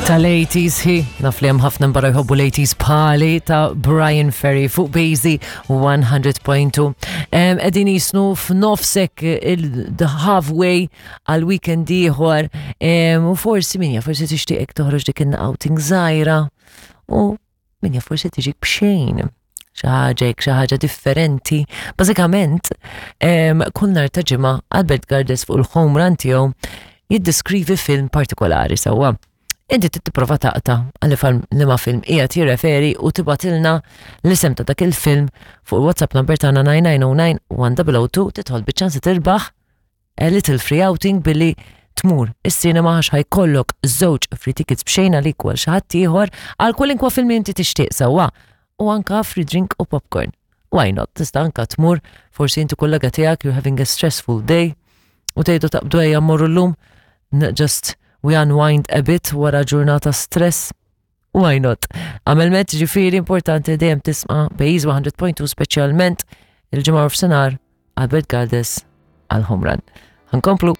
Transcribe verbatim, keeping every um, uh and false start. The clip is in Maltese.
Tal-eighties hi, naf li hemm ħafna barra jħobbu l-eighties bħali, ta' Bryan Ferry fuq Bejzi one hundred point two. Qegħdin jisnu f'nofsek il-the halfway għal weekend ieħor u forsi min jaf, forsi tixtieqek toħroġ dik outing żgħira u min jaf, forsi tiġik b'xejn xi ħaġa, xi ħaġa differenti. Bażikament, kull nhar ta' Ġimgħa Albert Gardes fuq il-home run tiegħu jiddeskrivi film partikolari, sewwa. Inti tipprova taqta' għal liema film qiegħed jirreferi u tibgħatilna l-isem ta' dak il-film fuq il-WhatsApp number tagħna nine nine zero nine one zero zero two, tidħol biċ-ċans tirbaħ a little free outing billi tmur is-cinema, għax ħa jkollok żewġ free tickets b'xejn għalik u għal xi ħadd ieħor għal kwalinkwa film li inti tixtieq, sewwa, u anka free drink u popcorn. Why not? Tista' anka tmur forsi inti kollega tiegħek, you're having a stressful day u tgħidu taqbdu ejja mmorru llum, just we unwind a bit wara ġurnata stress. Why not? Għamel met, ġifieri importanti dejjem tisma' Bejz one hundred point two, speċjalment il-Ġimgħa f'sinar Albert Galdes għal home run. Ħa nkomplu.